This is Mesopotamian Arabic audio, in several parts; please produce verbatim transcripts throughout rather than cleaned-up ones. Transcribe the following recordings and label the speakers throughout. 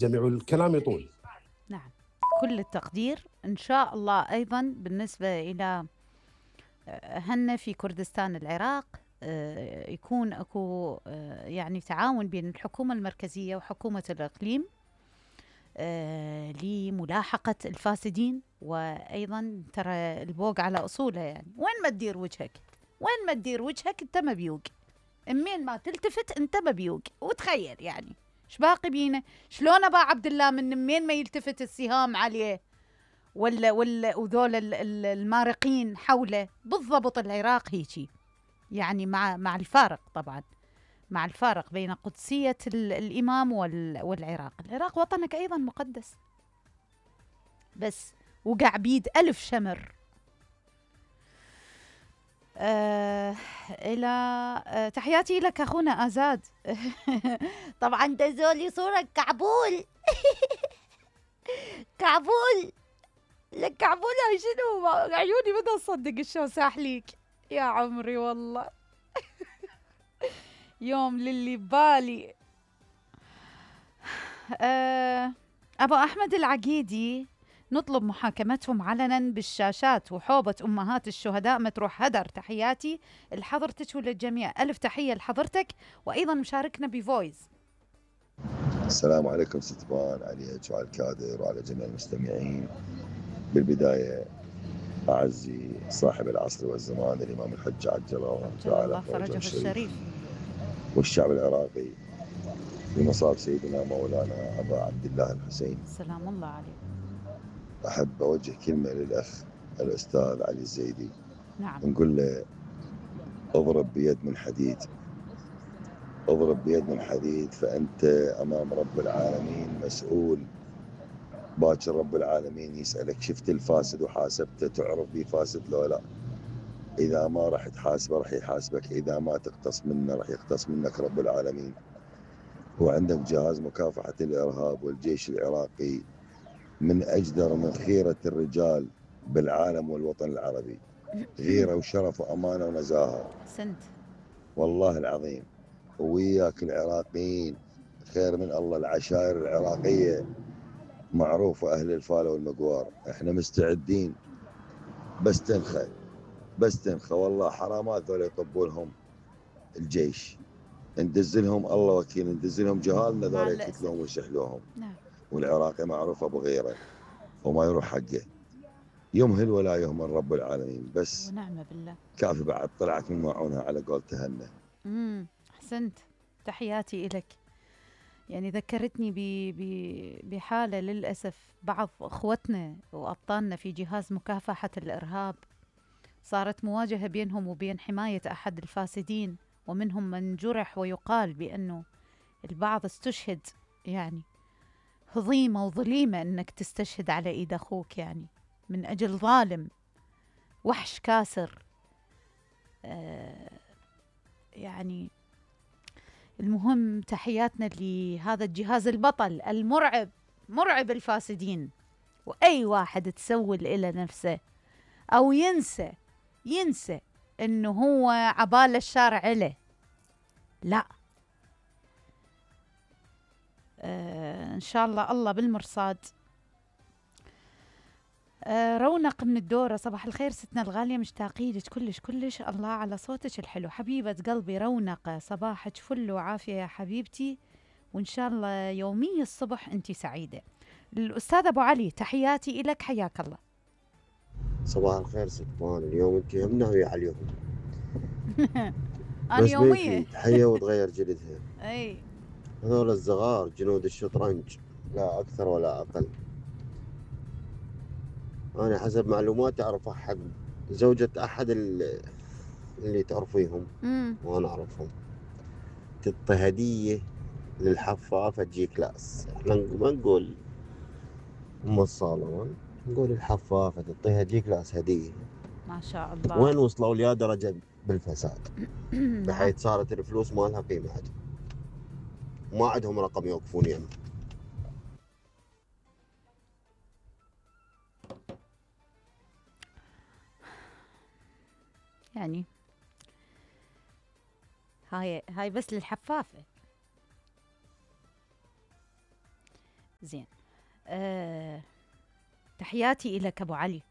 Speaker 1: جميع الكلام يطول.
Speaker 2: نعم، كل التقدير إن شاء الله. أيضا بالنسبة إلى هن في كردستان العراق، آه، يكون أكو آه، يعني تعاون بين الحكومة المركزية وحكومة الإقليم آه، لملاحقة الفاسدين. وأيضا ترى البوق على أصوله، يعني وين ما تدير وجهك، وين ما تدير وجهك أنت مبيوق، امين ما تلتفت أنت مبيوق. وتخيل يعني ايش باقي بينا، شلون ابا عبد الله من مين ما يلتفت السهام عليه ولا ولا وذول المارقين حوله. بالضبط العراق هيجي، يعني مع مع الفارق طبعا، مع الفارق بين قدسية الإمام والعراق. العراق وطنك أيضا مقدس، بس وقع بيد ألف شمر. آه إلى آه تحياتي لك أخونا آزاد. طبعا دزولي صورة كعبول. كعبول، لك كعبول شنو؟ عيوني بدها تصدق الشو ساحليك يا عمري والله. يوم للي ببالي. آه أبو أحمد العقيدي، نطلب محاكمتهم علنا بالشاشات وحوبة أمهات الشهداء متروح هدر. تحياتي لحضرتك وللجميع، ألف تحية لحضرتك. وأيضا مشاركنا بفويس.
Speaker 3: السلام عليكم ست بان، عليك وعلى الكادر وعلى جميع المستمعين. بالبداية أعزي صاحب العصر والزمان الإمام الحج عجل الله تعالى فرجه الشريف، والشعب العراقي بمصاب سيدنا مولانا أبا عبد الله الحسين
Speaker 2: سلام الله عليه.
Speaker 3: أحب أوجه كلمة للأخ الأستاذ علي الزيدي.
Speaker 2: نعم.
Speaker 3: نقول له اضرب بيد من حديد، اضرب بيد من حديد، فأنت أمام رب العالمين مسؤول. باكر رب العالمين يسألك شفت الفاسد وحاسبته، تعرف بيه فاسد لو لا؟ إذا ما راح تحاسبه راح يحاسبك، إذا ما تقتص منه راح يقتص منك رب العالمين. وعندك جهاز مكافحة الإرهاب والجيش العراقي من أجدر من خيرة الرجال بالعالم والوطن العربي، غيرة وشرف وأمانة ونزاهة.
Speaker 2: سنت
Speaker 3: والله العظيم. وياك العراقيين خير من الله. العشائر العراقية معروفة، أهل الفالة والمقوار، احنا مستعدين. بس تنخى بس تنخى والله حرامات ذولا يطبولهم الجيش، ندزلهم الله وكيل، ندزلهم جهالنا ذولا يقتلوهم ويسحلوهم.
Speaker 2: نعم.
Speaker 3: والعراقي معروف أبو غيره وما يروح حقه، يمهل ولا يهمل رب العالمين. بس
Speaker 2: ونعم بالله.
Speaker 3: كافي بعد طلعت من معونها على قول تهنى.
Speaker 2: امم احسنت، تحياتي إلك. يعني ذكرتني بحالة للأسف بعض أخوتنا وأبطالنا في جهاز مكافحة الإرهاب، صارت مواجهة بينهم وبين حماية أحد الفاسدين، ومنهم من جرح، ويقال بأنه البعض استشهد. يعني هضيمة وظليمة أنك تستشهد على إيد أخوك، يعني من أجل ظالم وحش كاسر. آه يعني المهم تحياتنا لهذا الجهاز البطل المرعب، مرعب الفاسدين. وأي واحد تسول إلى نفسه أو ينسى ينسى إنه هو عبال الشارع له، لا. آه إن شاء الله الله بالمرصاد. آه رونق من الدورة، صباح الخير ستنا الغالية، مشتاقين لك كلش كلش. الله على صوتك الحلو حبيبة قلبي رونق، صباحك فل وعافية يا حبيبتي، وإن شاء الله يومي الصبح أنت سعيدة. الأستاذ أبو علي، تحياتي إلك، حياك الله.
Speaker 4: صباح الخير ست بان، اليوم أنت هم ناوية عليهم.
Speaker 2: أنا
Speaker 4: بس
Speaker 2: يومية
Speaker 4: تحية وتغير جلدها.
Speaker 2: أي
Speaker 4: هذول الصغار جنود الشطرنج، لا أكثر ولا أقل. أنا حسب معلوماتي أعرف أحد زوجة أحد اللي تعرفيهم وأنا أعرفهم، تعطي هدية للحفافة تجي كلاس. احنا ما نقول أم الصالة، نقول الحفافة تعطيها تجي كلاس هدية.
Speaker 2: ما شاء الله.
Speaker 4: وين وصلوا ليا درجة بالفساد بحيث صارت الفلوس ما لها قيمة عندهم، ما عندهم رقم يوقفون يمه.
Speaker 2: يعني هاي هاي بس للحفافة. زين. أه تحياتي إليك أبو علي.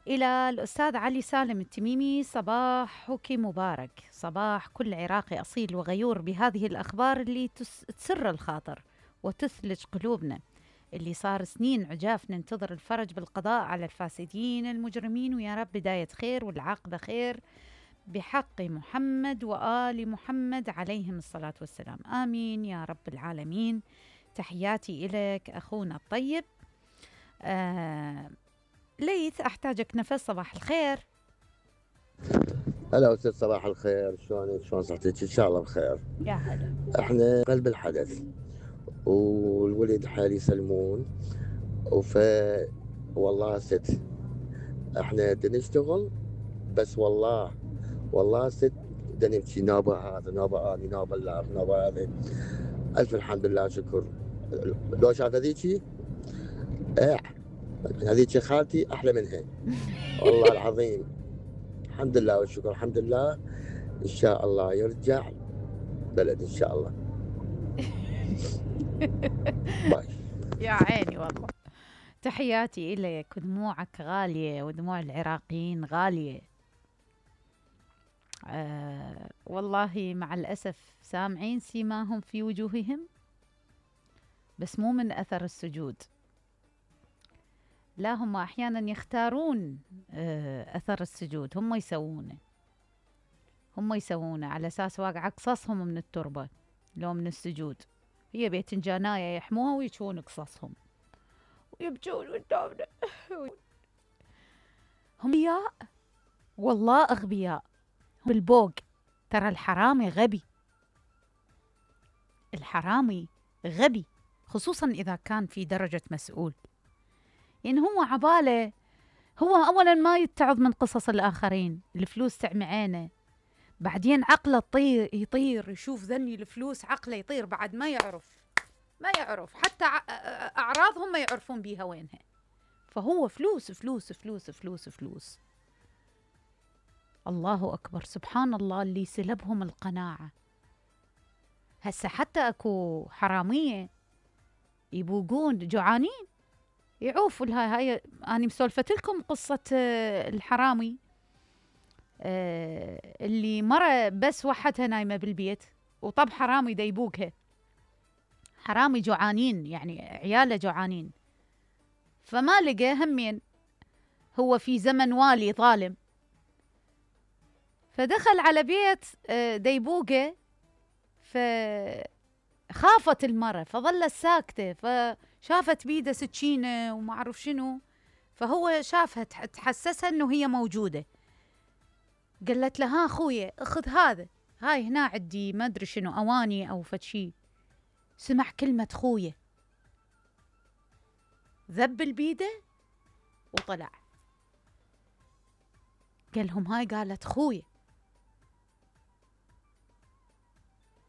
Speaker 2: إلى الأستاذ علي سالم التميمي: صباحك مبارك، صباح كل عراقي أصيل وغيور بهذه الأخبار اللي تسر الخاطر وتثلج قلوبنا، اللي صار سنين عجاف ننتظر الفرج بالقضاء على الفاسدين المجرمين، ويا رب بداية خير والعاقبة خير بحق محمد وآل محمد عليهم الصلاة والسلام، آمين يا رب العالمين. تحياتي إليك أخونا الطيب. آه ليث: أحتاجك نفس. صباح الخير.
Speaker 1: هلا أستاذ، صباح الخير، شلونك؟ شلون صحتك؟ إن شاء الله بخير.
Speaker 2: يا هلا.
Speaker 1: احنا قلب الحدث والولد حالي يسلمون، وف والله ست احنا بدنا نشتغل، بس والله والله ست بدنا نبكي، نوبة هذا نوبة اني نوبة الله نوبة هذا. الف الحمد لله شكر. لو شاف هذيكي ايه هذيك خالتي احلى منها والله العظيم. الحمد لله والشكر، الحمد لله. ان شاء الله يرجع بلد ان شاء الله. باي.
Speaker 2: يا عيني والله. تحياتي إليك، ودموعك غالية ودموع العراقيين غالية. آه والله مع الأسف سامعين سيماهم في وجوههم، بس مو من أثر السجود، لا هم أحيانا يختارون آه أثر السجود، هم يسوونه هم يسوونه على أساس واقع قصصهم من التربة لو من السجود. هي بيتنجاناية يحموها ويشون قصصهم ويبجون قدامنا. هم أغبياء والله، أغبياء بالبوق. ترى الحرامي غبي، الحرامي غبي، خصوصا إذا كان في درجة مسؤول. يعني هو عباله هو أولا ما يتعظ من قصص الآخرين، الفلوس تعمي عينه، بعدين عقله يطير يطير يشوف ذني الفلوس، عقله يطير بعد، ما يعرف ما يعرف حتى أعراضهم ما يعرفون بيها وينها. فهو فلوس فلوس فلوس فلوس فلوس. الله أكبر، سبحان الله اللي سلبهم القناعة. هسه حتى أكو حرامية يبوقون جوعانين يعوفوا لها. هاي أنا مسولفت لكم قصة الحرامي اللي مرة بس وحدها نايمة بالبيت، وطب حرامي دا يبوقها، حرامي جوعانين يعني عياله جوعانين، فما لقى همين، هو في زمن والي ظالم، فدخل على بيت ديبوقه، فخافت المرة فظلت ساكتة، فشافت بيده سكينة وما أعرف شنو، فهو شافها تحسسها إنه هي موجودة، قالت له: ها أخويا أخذ هذا، هاي هنا عندي ما أدري شنو أواني أو فشي. سمع كلمة خويا، ذب البيدة وطلع، قال لهم هاي قالت خويا.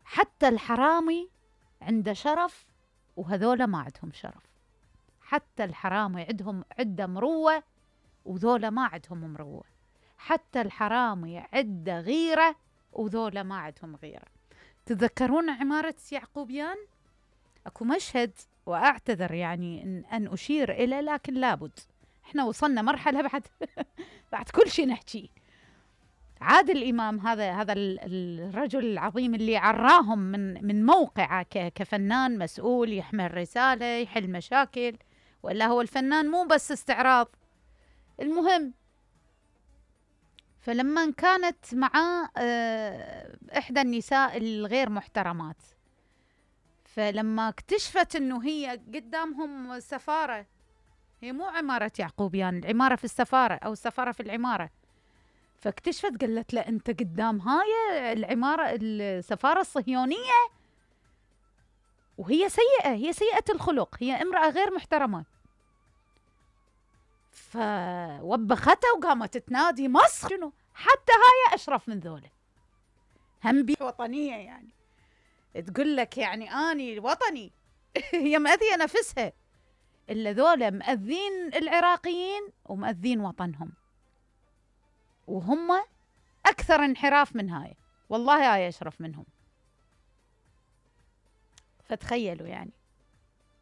Speaker 2: حتى الحرامي عنده شرف وهذولا ما عندهم شرف، حتى الحرامي عندهم عنده مروة وذولا ما عندهم مروة، حتى الحرامي عنده غيرة وذولا ما عندهم غيرة. تذكرون عمارة يعقوبيان؟ اكو مشهد واعتذر يعني ان, أن اشير اليه، لكن لابد، احنا وصلنا مرحله بعد بعد كل شيء نحكي. عادل امام هذا هذا الرجل العظيم اللي عراهم من من موقعه كفنان مسؤول يحمل رساله يحل مشاكل، ولا هو الفنان مو بس استعراض. المهم، فلما كانت مع احدى النساء الغير محترمات، فلما اكتشفت انه هي قدامهم سفارة، هي مو عمارة يعقوبيان، العمارة في السفارة او السفارة في العمارة، فاكتشفت قالت له: انت قدام هاي العمارة السفارة الصهيونية، وهي سيئة، هي سيئة الخلق، هي امرأة غير محترمة. فوبختها وقامت تنادي: مصر شنو، حتى هاي اشرف من ذولا، هم بي وطنية يعني، تقول لك يعني اني وطني هي مأذية نفسها، الا ذولا مأذين العراقيين ومأذين وطنهم، وهم اكثر انحراف من هاي، والله هاي اشرف منهم. فتخيلوا يعني.